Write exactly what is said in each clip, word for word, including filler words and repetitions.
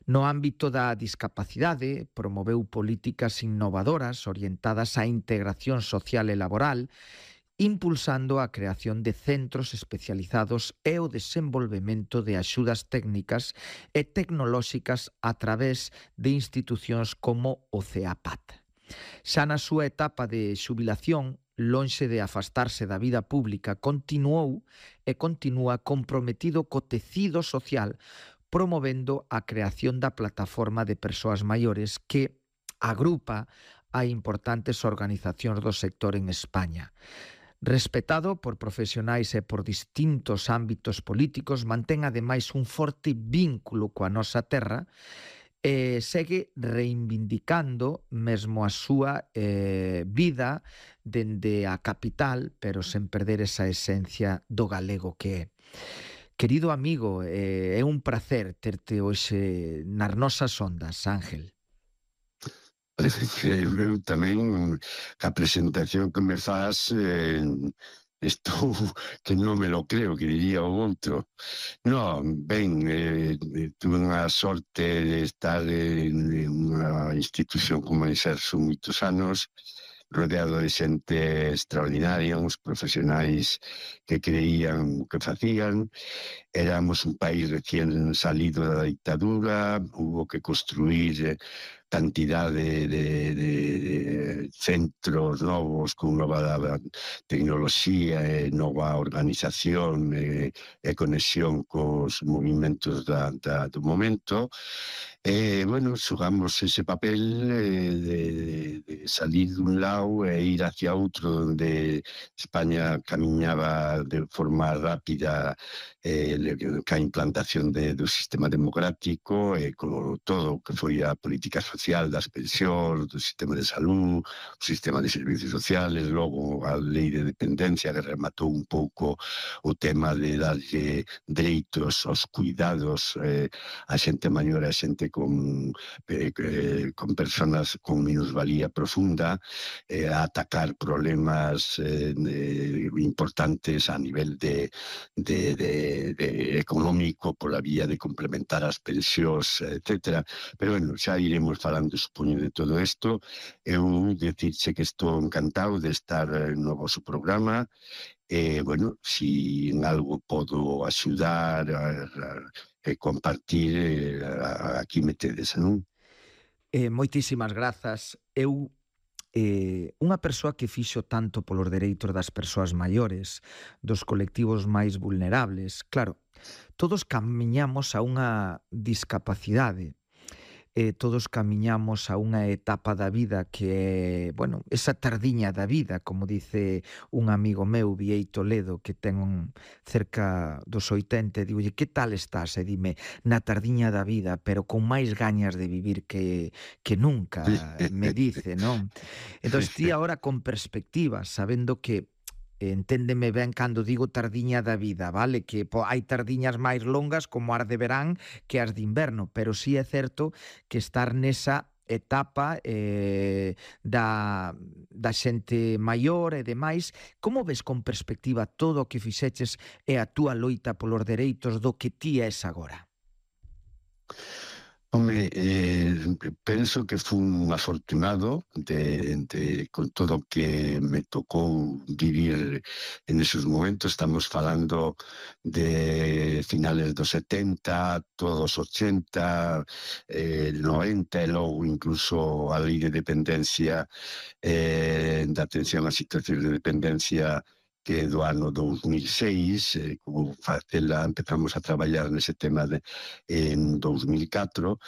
No ámbito da discapacidade, promoveu políticas innovadoras orientadas á integración social e laboral, impulsando a creación de centros especializados e o desenvolvemento de axudas técnicas e tecnolóxicas a través de institucións como o CEAPAT. Xa na súa etapa de xubilación, lonxe de afastarse da vida pública, continuou e continúa comprometido co tecido social, promovendo a creación da plataforma de persoas maiores que agrupa a importantes organizacións do sector en España. Respetado por profesionais e por distintos ámbitos políticos, mantén ademais un forte vínculo coa nosa terra e segue reivindicando mesmo a súa eh, vida dende a capital, pero sen perder esa esencia do galego que é. Querido amigo, eh, é un placer terte hoxe nas nosas ondas, Ángel. Parece que eu tamén, a presentación que me faz, eh, estou que non me lo creo, que diría o outro. Non, ben, eh, tuve unha sorte de estar en unha institución como a Exerso moitos anos, rodeado de xente extraordinaria, uns profesionais que creían o que facían. Éramos un país recién salido da dictadura, hubo que construir cantidade de, de, de centros novos con nova tecnoloxía e nova organización e, e conexión cos movimentos da, da, do momento. E, bueno, xugamos ese papel eh, de, de salir dun lado e ir hacia outro, onde España camiñaba de forma rápida eh, ca implantación de, do sistema democrático e con todo o que foi a política social das pensións, do sistema de salud, o sistema de servicios sociales, logo a lei de dependencia que rematou un pouco o tema de darlle dereitos aos cuidados eh, a xente maior e a xente con, eh, con personas con minusvalía profunda, eh, a atacar problemas eh, de, importantes a nivel de, de, de, de económico pola vía de complementar as pensións, etcétera. Pero, bueno, xa iremos falando, supoño, de todo isto. Eu dicirche que estou encantado de estar no vosso programa. E, bueno, si en algo podo axudar a, a, a compartir, a, aquí me tedes, non? Eh, moitísimas grazas. Eu Eh, unha persoa que fixo tanto polos dereitos das persoas maiores, dos colectivos máis vulnerables. Claro, todos camiñamos a unha discapacidade, eh, todos camiñamos a unha etapa da vida que é, bueno, esa tardiña da vida, como dice un amigo meu, Vieito Ledo, que ten un cerca dos oitenta, e digolle, que tal estás? E dime, na tardiña da vida, pero con máis gañas de vivir que, que nunca, me dice, non? Entón, ti agora con perspectiva, sabendo que enténdeme ben cando digo tardiña da vida, vale? Que po, hai tardiñas máis longas como as de verán que as de inverno, pero sí é certo que estar nesa etapa eh, da, da xente maior e demais. Como ves con perspectiva todo o que fixeches e a túa loita polos dereitos do que ti és agora? Home, eh, penso que fun afortunado de, de, con todo o que me tocou vivir en esos momentos. Estamos falando de finales dos setenta, todos ochenta, eh, noventa, e logo incluso a lei de dependencia, eh, da atención a situacións de dependencia, que do ano dos mil seis, eh, como facela, empezamos a traballar nese tema de, en dos mil catro,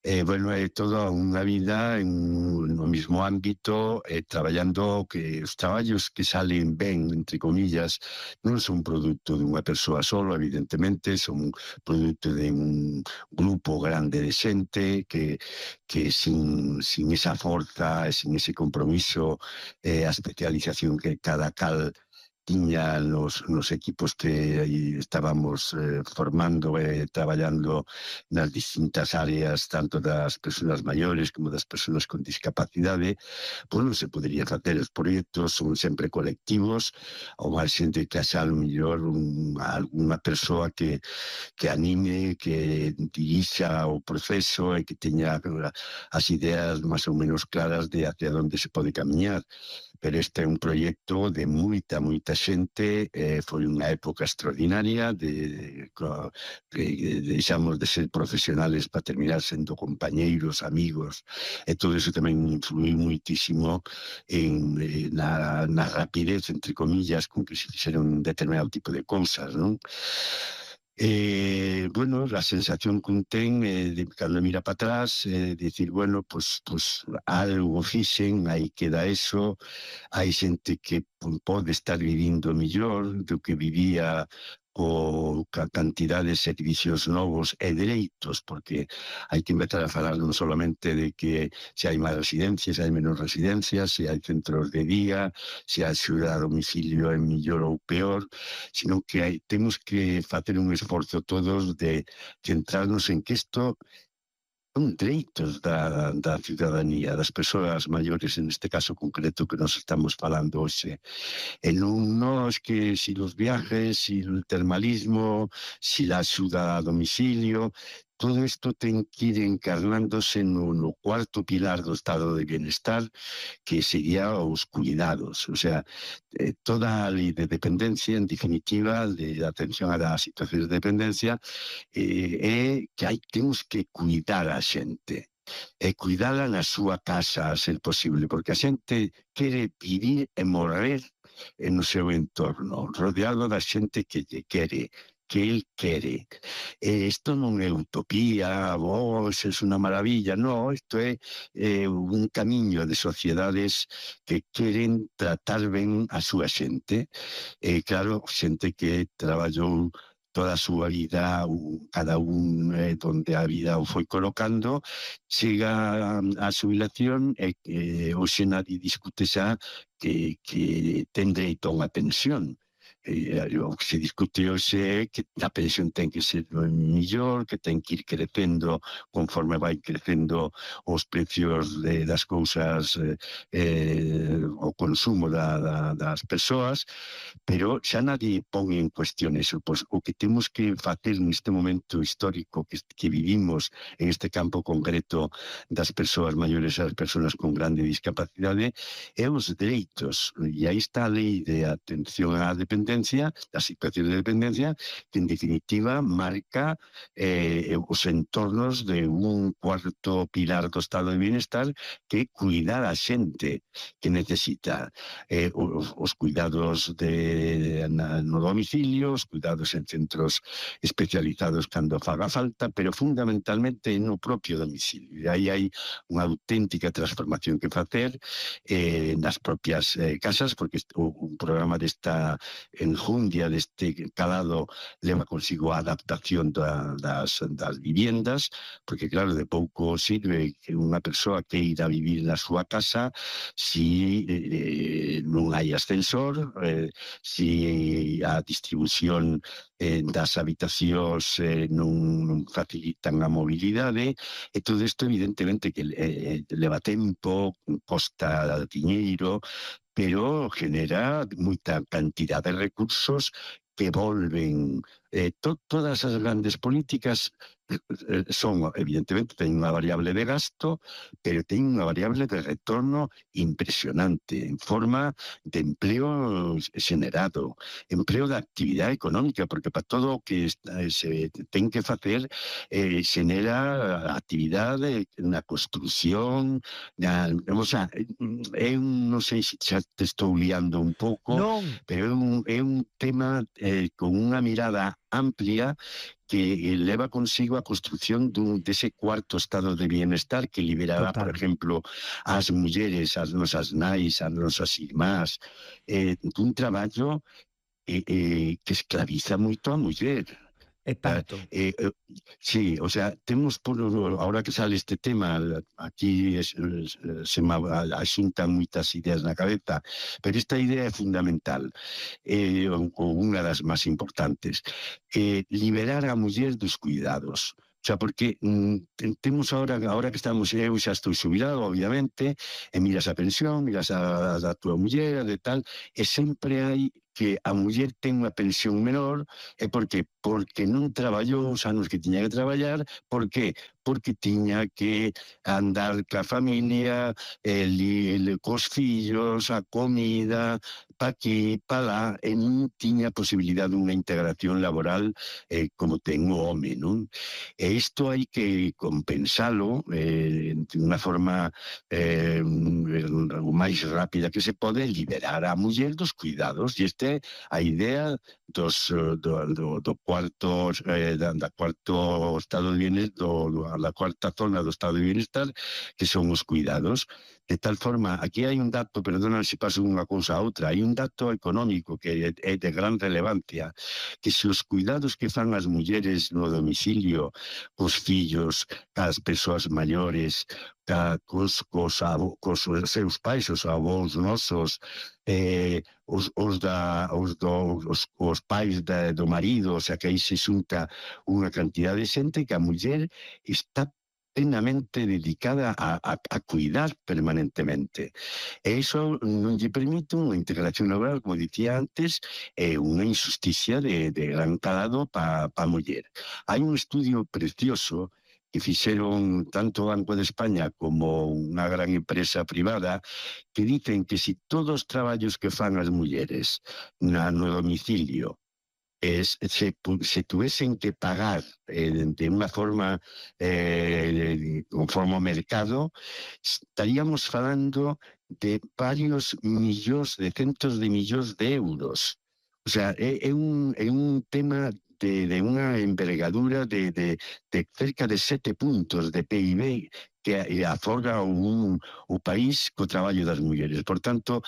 e, eh, bueno, é toda unha vida en, no mismo ámbito, eh, traballando que os traballos que salen ben, entre comillas, non son produto dunha persoa solo, evidentemente, son produto de un grupo grande de xente que, que sin, sin esa forza e sin ese compromiso, eh, a especialización que cada cal tiña nos, nos equipos que aí estábamos eh, formando e eh, traballando nas distintas áreas, tanto das persoas maiores como das persoas con discapacidade, pois non se podería facer. Os proxectos son sempre colectivos, ou máis xente que haxa mellor un, alguna persoa que, que anime, que dirixa o proceso e que teña as ideas máis ou menos claras de hacia onde se pode camiñar. Pero este é un proxecto de moita, moita xente, eh, foi unha época extraordinaria, de, de, de, deixamos de ser profesionales para terminar sendo compañeiros, amigos, e todo iso tamén influiu moitísimo en, eh, na, na rapidez, entre comillas, con que se fixeron un determinado tipo de cousas, non? Eh, bueno, a sensación que un ten eh, de cando mira para atrás, eh, dicir, bueno, pues, pues algo fixen, aí queda eso, hai xente que pode estar vivindo mellor do que vivía o ca cantidad de servicios novos e dereitos, porque hai que empezar a falar non solamente de que se hai máis residencias, se hai menos residencias, se hai centros de día, se a axuda a domicilio é mellor ou peor, sino que hai, temos que facer un esforzo todos de centrarnos en que isto son dereitos da, da ciudadanía, das persoas maiores, en este caso concreto que nos estamos falando hoxe. E non nos que si los viajes, si el termalismo, si la axuda a domicilio, todo isto ten que ir encarnándose no, no cuarto pilar do estado de bienestar, que sería os cuidados. O sea, eh, toda a lei de dependencia, en definitiva, de atención a das situacións de dependencia, eh, é que hai, temos que cuidar a xente. E cuidala na súa casa, a ser posible, porque a xente quere vivir e morrer no seu entorno, rodeado da xente que lle quere, que el quere. E isto non é utopía, oh, isto é unha maravilla, non, isto é eh, un camiño de sociedades que queren tratar ben a súa xente. E claro, xente que traballou toda a súa vida, cada un eh, donde a vida o foi colocando, chega a xubilación e que hoxe nadie discute xa que, que ten dereito a unha pensión. Eh, o que se discute hoxe é que a pensión ten que ser mellor, que ten que ir crecendo conforme vai crecendo os precios de, das cousas, eh, eh, o consumo da, da, das persoas, pero xa nadie pon en cuestión eso. Pois o que temos que facer neste momento histórico que, que vivimos en este campo concreto das persoas maiores e das persoas con grande discapacidade é os dereitos. E aí está a lei de atención á dependencia, da situación de dependencia, que en definitiva marca eh, os entornos de un cuarto pilar do estado de bienestar, que é cuidar a xente que necesita eh, os, os cuidados de, na, no domicilio, os cuidados en centros especializados cando faga falta, pero fundamentalmente no propio domicilio. E aí hai unha auténtica transformación que facer eh, nas propias eh, casas, porque o, un programa desta enjundia, deste calado, leva consigo a adaptación da, das, das viviendas, porque claro, de pouco sirve que unha persoa que ir a vivir na súa casa si eh, non hai ascensor, eh, si a distribución eh, das habitacións eh, non, non facilitan a mobilidade, e todo isto evidentemente que eh, leva tempo, costa diñeiro, pero genera moita cantidad de recursos que volven. Eh, to, todas as grandes políticas eh, son, evidentemente, ten unha variable de gasto, pero ten unha variable de retorno impresionante, en forma de empleo generado, empleo de actividade económica, porque para todo o que se ten que facer eh, genera actividade na construción, na, o sea, é un, non sei se xa te estou liando un pouco, non, pero é un, é un tema eh, con unha mirada amplia que leva consigo a construción dun, dese cuarto estado de bienestar que liberará, Total. Por exemplo, as mulleres, as nosas nais, as nosas irmás, eh, dun traballo eh, eh, que esclaviza moito a muller. E Eh, tanto. eh, eh, sí, o sea, temos por, ahora que sale este tema, aquí es, es, se me asuntan moitas ideas na cabeza, pero esta idea é fundamental, eh, ou unha das máis importantes, eh, liberar a muller dos cuidados. O sea, porque mm, temos ahora, ahora que estamos, eu xa estou xubilado, obviamente, e miras a pensión, miras a, a tua muller, de tal, e sempre hai que a muller ten unha pensión menor. E por que? Porque non traballou os anos que tiña que traballar. Por que? Porque tiña que andar ca familia, el, el, cos fillos, a comida, pa aquí, pa lá, e non tiña posibilidade dunha integración laboral eh, como ten o home, non? E isto hai que compensalo eh, de unha forma eh, o máis rápida que se pode, liberar a muller dos cuidados, e este é a idea dos, do, do, do cuarto eh, da, da cuarto estado de bienestar, do, do, da cuarta zona do estado de bienestar, que son os cuidados. De tal forma, aquí hai un dato, perdona se paso unha cousa a outra, hai un dato económico que é, é de gran relevancia, que se os cuidados que fan as mulleres no domicilio, cos fillos, cas persoas maiores, ca, cos, cos, avo, cos seus pais, os avós nosos, eh, os, os, da, os, do, os, os pais da, do marido, o sea, que aí se xunta unha cantidad de xente que a muller está plenamente dedicada a, a, a cuidar permanentemente. E iso non lle permite unha integración laboral, como dicía antes, é unha injusticia de, de gran calado para pa a muller. Hai un estudio precioso que fixeron tanto o Banco de España como unha gran empresa privada, que dicen que si todos os traballos que fan as mulleres na, no domicilio es, se, se tuviesen que pagar eh, de unha forma eh, conforme ao mercado, estaríamos falando de varios millóns, de centos de millóns de euros. O sea, é, é, un, é un tema de, de unha envergadura de, de, de cerca de sete puntos de P I B que aforga un, o país co traballo das mulleres. Por tanto,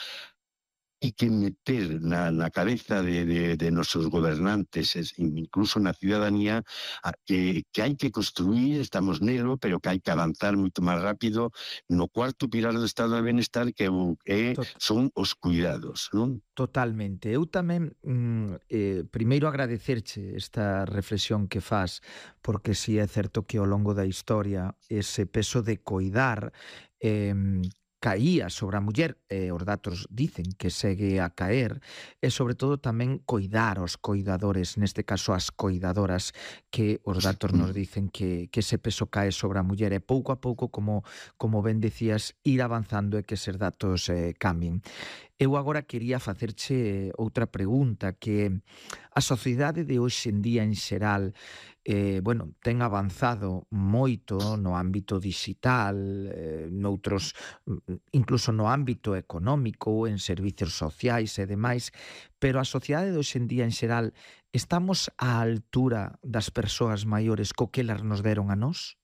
hai que meter na, na cabeza de, de, de nosos gobernantes, incluso na ciudadanía, a, que, que hai que construir, estamos nelo, pero que hai que avanzar moito máis rápido no cuarto pilar do estado de bienestar, que é, son os cuidados, non? Totalmente. Eu tamén, mm, eh, primeiro agradecerche esta reflexión que fas, porque si é certo que ao longo da historia ese peso de coidar eh, caía sobre a muller, e os datos dicen que segue a caer, e sobre todo tamén coidar aos coidadores, neste caso as coidadoras, que os datos nos dicen que, que ese peso cae sobre a muller, e pouco a pouco, como, como ben decías, ir avanzando e que eses datos eh, cambien. Eu agora quería facerche outra pregunta, que a sociedade de hoxe en día en xeral eh, bueno, ten avanzado moito no ámbito digital, eh, noutros, incluso no ámbito económico, en servicios sociais e demais, pero a sociedade de hoxe en día en xeral, estamos á altura das persoas maiores co que elas nos deron a nós?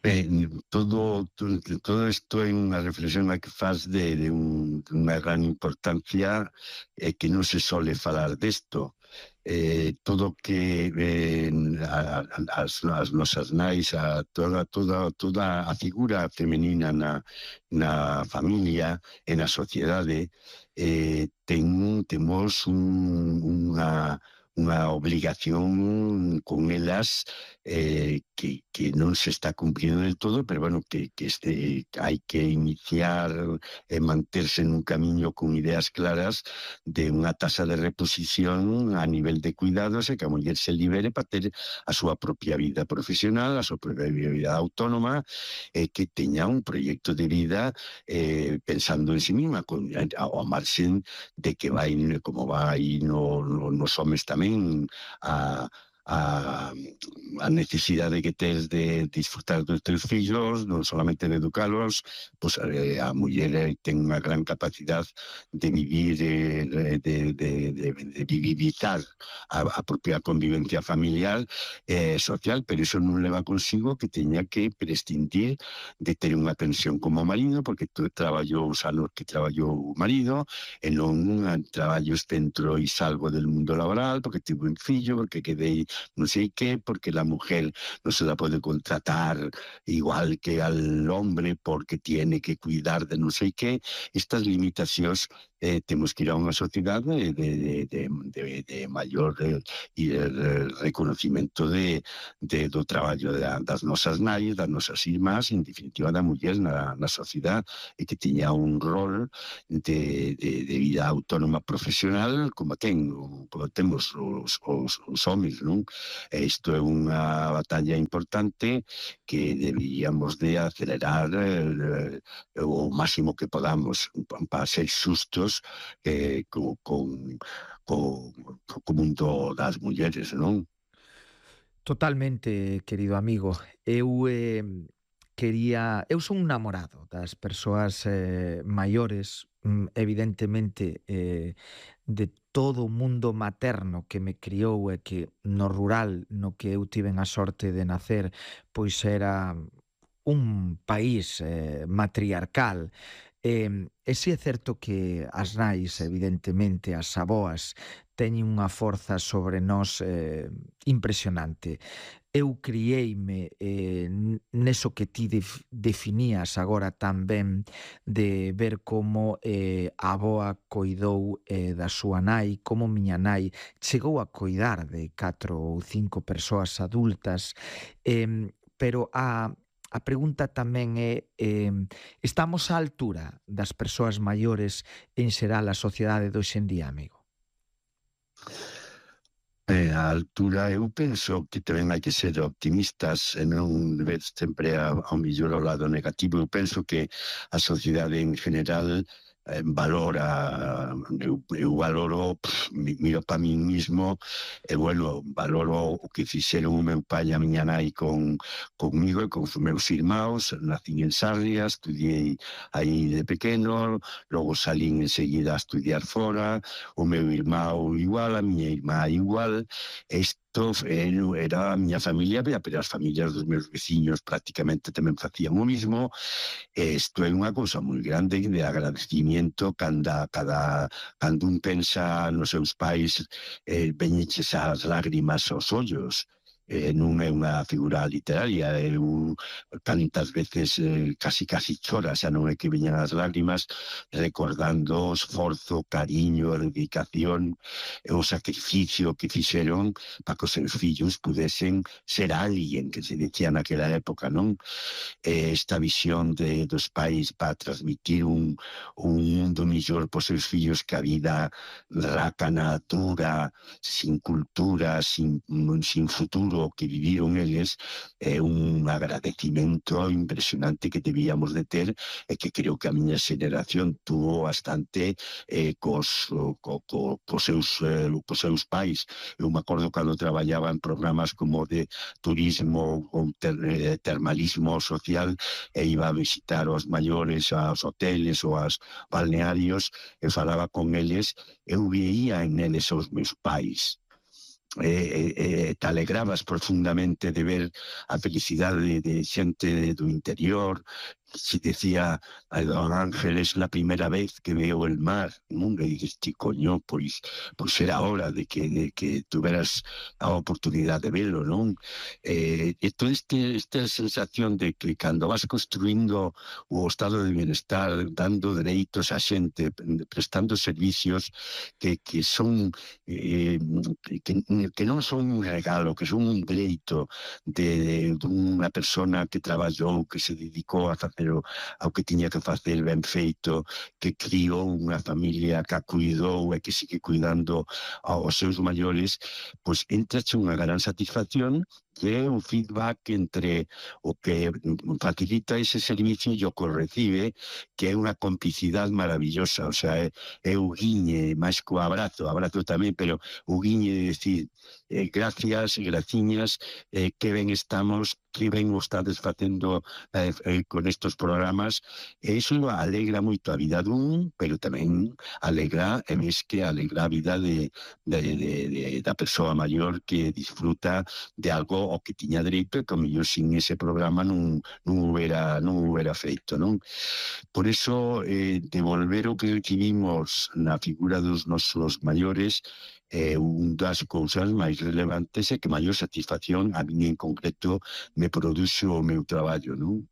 Ben, todo, todo, todo isto é unha reflexión a que faz de, de, un, de unha gran importancia e que non se sole falar desto. Eh, todo que eh, a, a, as, as nosas nais, a toda, toda, toda a figura femenina na, na familia e na sociedade, eh, ten, temos un, unha unha obligación con elas eh, que, que non se está cumplindo del todo, pero bueno, que, que este, hai que iniciar e manterse nun camiño con ideas claras de unha tasa de reposición a nivel de cuidados e que a muller se libere para ter a súa propia vida profesional, a súa propia vida autónoma, e que teña un proxecto de vida eh, pensando en sí misma, con, ao marxen de que vai como vai no, no, nos homes tamén a, a, a necesidade que tes de disfrutar dos teus fillos, non solamente de educalos, pois eh, a muller ten unha gran capacidade de vivir, eh, de, de, de, de vivitar a, a propia convivencia familiar e eh, social, pero iso non leva consigo que teña que prescindir de ter unha pensión como marido, porque tú traballou os anos que traballou o marido, e non traballos dentro e salvo del mundo laboral, porque tive un fillo, porque quedei non sei que, porque la mujer non se la pode contratar igual que al hombre porque tiene que cuidar de non sei que. Estas limitacións eh, temos que ir a unha sociedade de, de, de, de, de maior eh, eh, reconocimiento de, de, do traballo da, das nosas nais, das nosas irmás, en definitiva da muller na, na sociedade, e que tiña un rol de, de, de vida autónoma profesional como ten, como temos os, os, os homens, non? E isto é unha batalla importante que deberíamos de acelerar eh, o máximo que podamos para ser xustos eh, con, con, con, co mundo das mulleres, non? Totalmente, querido amigo. Eu eh, quería... Eu son un namorado das persoas eh, maiores, mm, evidentemente, eh, de todo o mundo materno que me criou e que no rural no que eu tiven a sorte de nacer, pois era un país eh, matriarcal. E, e si é certo que as nais, evidentemente, as aboas, teñen unha forza sobre nós eh, impresionante. Eu criei-me eh, neso que ti def, definías agora tan ben, de ver como eh, a aboa coidou eh, da súa nai, como miña nai chegou a coidar de catro ou cinco persoas adultas, eh, pero a A pregunta tamén é, eh, estamos á altura das persoas maiores en xeral a sociedade de hoxe en día, amigo? Eh, a altura, eu penso que tamén hai que ser optimistas e non ver sempre ao mellor ao lado negativo. Eu penso que a sociedade en general eh, valora, eu, eu valoro, pff, miro para min mismo, e bueno, valoro o que fixeron o meu pai e a miña nai con, conmigo e con os meus irmãos. Nacín en Sarria, estudiei aí de pequeno, logo salín enseguida a estudiar fora, o meu irmão igual, a miña irmá igual. Isto era a miña familia, pero as familias dos meus veciños prácticamente tamén facían o mismo. Isto é unha cousa moi grande de agradecimiento cando, cada, cando un pensa nos seus pais, eh, veñeches as lágrimas aos ollos. Eh, non é unha figura literaria, é un, tantas veces eh, casi casi chora, xa non é que veñan as lágrimas, recordando o esforzo, cariño, a dedicación e o sacrificio que fixeron para que os seus fillos pudesen ser alguén, que se decía naquela época, non? Eh, esta visión de, dos pais para transmitir un, un mundo mellor para os seus fillos, que a vida rácana, dura, sin cultura, sin, sin futuro que viviron eles, é un agradecimento impresionante que debíamos de ter, e que creo que a miña xeración tuvo bastante eh, cos, co, co, cos, seus, eh, cos seus pais. Eu me acordo cando traballaba en programas como de turismo ou ter, eh, termalismo social, e iba a visitar os maiores aos hoteles ou aos balnearios, e falaba con eles, eu veía en eles os meus pais. Eh, eh, te alegrabas profundamente de ver a felicidade de, de xente do interior. Si decía a don Ángel, es la primera vez que veo el mar, non? E dices, ti, coño, pois, pois era hora de que, de que tuveras a oportunidade de verlo, non? Eh, e toda este, esta sensación de que cando vas construindo o estado de bienestar, dando dereitos a xente, prestando servicios que, que son eh, que, que non son un regalo, que son un dereito de, de unha persona que traballou, que se dedicou a facer ao que tiña que facer ben feito, que criou unha familia que a cuidou e que sigue cuidando aos seus maiores, pois entrache unha gran satisfacción que é un feedback entre o que facilita ese servicio e o que o recibe, que é unha complicidade maravillosa. O sea, é, é o guiñe, máis co abrazo, abrazo tamén, pero o guiñe de decir eh, gracias, graciñas, eh, que ben estamos, que ben o estades facendo eh, eh, con estos programas. E iso alegra moito a vida dun, pero tamén alegra, e ves que alegra a vida de, de, de, de, da persoa maior que disfruta de algo o que tiña dereito e que mellor sin ese programa non, non hubiera non hubiera feito, non? Por iso, eh, devolver o que recibimos na figura dos nosos maiores é eh, un das cousas máis relevantes e que maior satisfacción a mí en concreto me produce o meu traballo, non?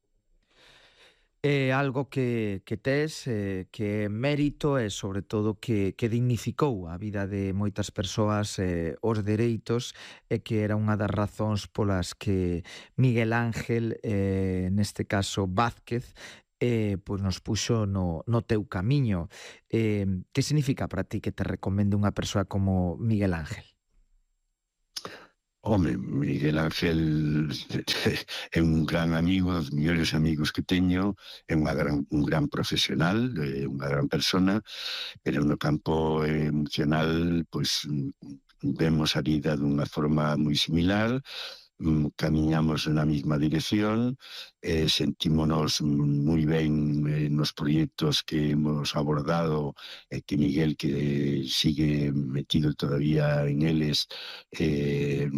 É algo que, que tes, eh, que é mérito e, sobre todo, que, que dignificou a vida de moitas persoas, eh, os dereitos, e que era unha das razóns polas que Miguel Ángel, eh, neste caso Vázquez, eh, pois nos puxo no, no teu camiño. Eh, que significa para ti que te recomende unha persoa como Miguel Ángel? Home, Miguel Ángel é un gran amigo, dos mellores amigos que teño, é unha gran, un gran profesional, é unha gran persona, pero no campo emocional, pois, vemos a vida dunha forma moi similar, camiñamos na mesma dirección, eh, sentímonos moi ben eh, nos proxectos que hemos abordado, e eh, que Miguel, que sigue metido todavía en eles, eh,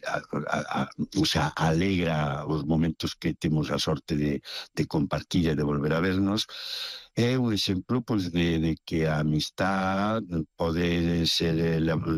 a, a, a, o sea, alegra os momentos que temos a sorte de, de compartir e de volver a vernos. É un exemplo, pois, de, de que a amistad pode ser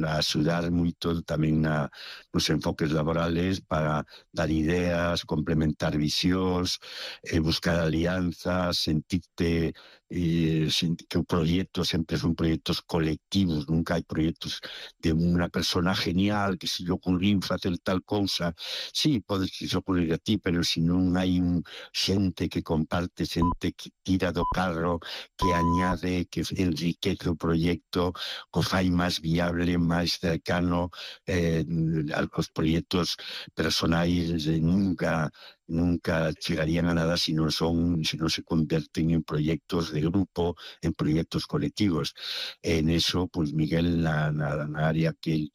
axudar moito tamén na, nos enfoques laborales para dar ideas, complementar visións, eh, buscar alianzas, sentirte eh, sentir que o proxecto sempre son proxectos colectivos, nunca hai proxectos de unha persona genial que se lle ocurriu facer tal cousa. Sí, pode se ocurrir a ti, pero se non hai un xente que comparte, xente que tira do carro, que añade, que enriquece o proxecto, que fai máis viable, máis cercano, eh, os proxectos personais eh, nunca nunca chegarían a nada se non son, se non se converten en proxectos de grupo, en proxectos colectivos. En eso, pois, Miguel, na, na, na área que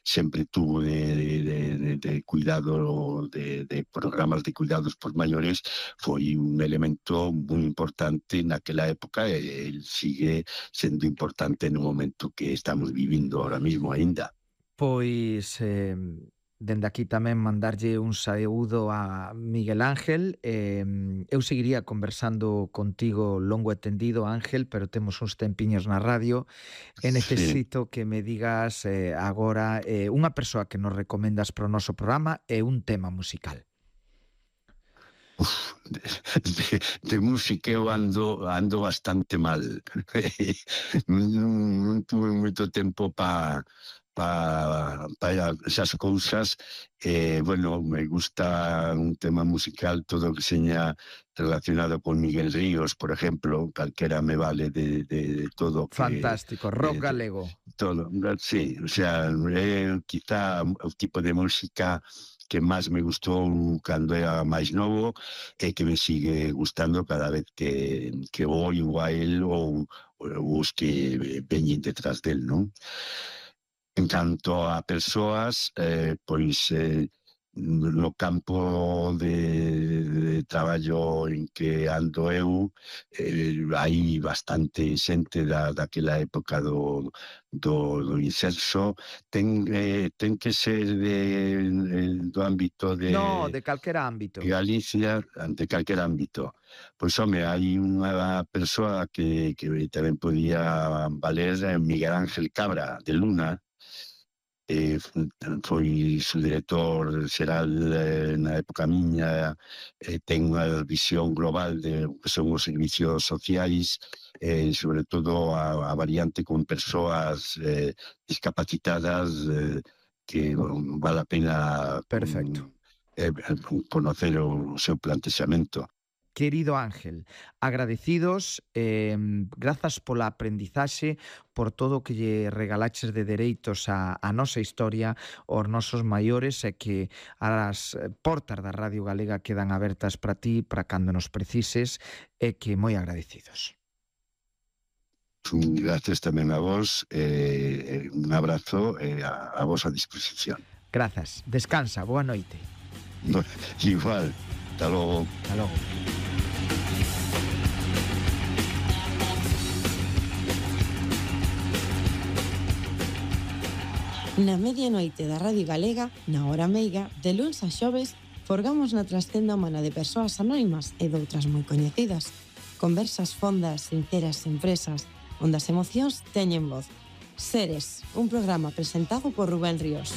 sempre tuvo de, de, de, de cuidado, de, de programas de cuidados por maiores, foi un elemento moi importante naquela época e el sigue sendo importante no momento que estamos vivindo ahora mismo aínda. Pois, eh, dende aquí tamén mandarlle un saúdo a Miguel Ángel. Eh, eu seguiría conversando contigo longo e tendido, Ángel, pero temos uns tempiños na radio e necesito sí. que me digas eh, agora eh, unha persoa que nos recomendas para o noso programa e un tema musical. Uf, de, de, de música eu ando, ando bastante mal. non, non tuve moito tempo para para pa esas cousas. Eh, bueno, me gusta un tema musical, todo que seña relacionado con Miguel Ríos, por ejemplo, calquera me vale de, de, de todo. Que, fantástico, rock de, galego. De, todo, sí, o sea, é quizá o tipo de música que máis me gustou cando era máis novo e que me sigue gustando cada vez que, que oio a él ou, ou os que veñen detrás del, non? En canto a persoas, eh, pois eh, no campo de, de traballo en que ando eu, eh, hai bastante xente da, daquela época do, do, do incenso. Ten, eh, ten que ser de, do ámbito de... No, de calquera ámbito. Galicia, de calquera ámbito. Pois, home, hai unha persoa que, que tamén podía valer, Miguel Ángel Cabra, de Luna. Eh, foi su director xeral eh, na época miña, eh, ten unha visión global de que son os servicios sociais, eh, sobre todo a, a variante con persoas eh, discapacitadas, eh, que bon, vale a pena perfecto um, eh, conocer o seu plantexamento. Querido Ángel, agradecidos, eh, grazas pola aprendizaxe, por todo o que lle regalaches de dereitos a, a nosa historia, aos nosos maiores, e que as portas da Radio Galega quedan abertas para ti, para cando nos precises, e que moi agradecidos. Gracias tamén a vos, eh, un abrazo eh, a, a vos a disposición. Grazas, descansa, boa noite. Igual, hasta logo. Hasta logo. Na medianoite da Radio Galega, na hora meiga, de luns a xoves, forgamos na trascenda humana de persoas anónimas e doutras moi coñecidas. Conversas fondas, sinceras, empresas, onde as emocións teñen voz. Seres, un programa presentado por Rubén Ríos.